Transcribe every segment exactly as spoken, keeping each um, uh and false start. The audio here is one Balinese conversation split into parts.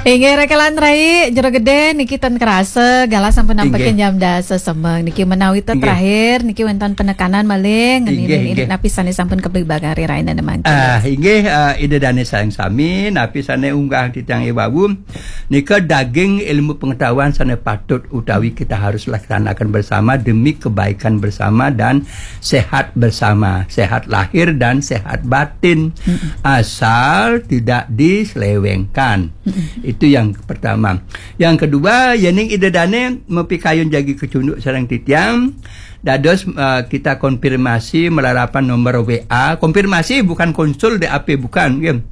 Inggih, Raka lan Rai, Jero Gede niki ten kerasa, galah sampun nampekin jam dasa semeng. Niki menawi to terakhir, niki wenten penekanan malih, ngeninang indik napi sane sampun kablibagang ri rainane mangkin. Ah, inggih, eh, Ida Dane sareng sami, napi sane unggah titiang wau, nika daging ilmu pengetahuan sane patut utawi kita harus laksanakan bersama demi kebaikan bersama dan sehat bersama, sehat lahir dan sehat batin. Asal tidak diselewengkan. Itu yang pertama. Yang kedua, yening Ida Dane mapikayun jagi kacunduk sareng titiang, dados, eh, kita konfirmasi malarapan nomor W A. Konfirmasi, bukan konsul D A P, bukan, nggih.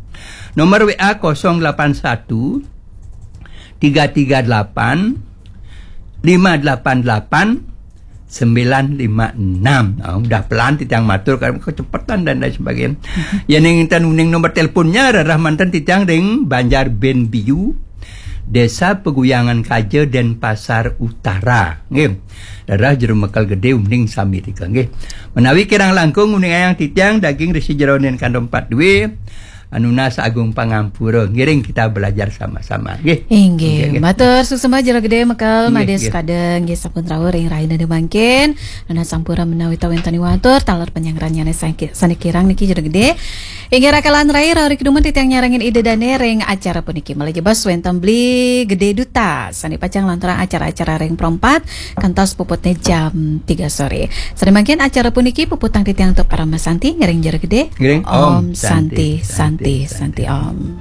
Nomor W A kosong delapan satu tiga tiga delapan lima delapan delapan sembilan lima enam. Ah, udah pelan titiang matur karena kecepatan dan lain sebagainya. Yening ten uning nomor teleponnya, rereh manten titiang ring Banjar Benbiu, Desa Peguyangan Kaja, Denpasar Utara. Nggih. Rereh Jero Mekel Gede uning sami rika, nggih. Menawi kirang langkung nguningayang titiang daging resi jeroning kandum empat due, nunas agung pangampura. Ngiring kita belajar sama-sama, nggih. Inggih, nggih, nggih. Matur suksma Jero Gede Mekel, nggih, Made nggih. Sukade, nggih, sampun rauh ring rainane mangkin. Nunas sampura menawi ta wenten watur, taler panyangrannyane sane kirang niki Jero Gede. Inggih, Raka lan Rai, rauh ri kedumun titiang nyarengin Ida Dane ring acara puniki. Malih jebos wenten Beli Gede Duta, sane pacang lanturang acara-acara ring Pro empat, kantos puputne jam tiga sore. Sane mangkin acara puniki puputang titiang antuk parama santi, ngiring Jero Gede. Ngiring. Om Santi, Santi, Santi, Om.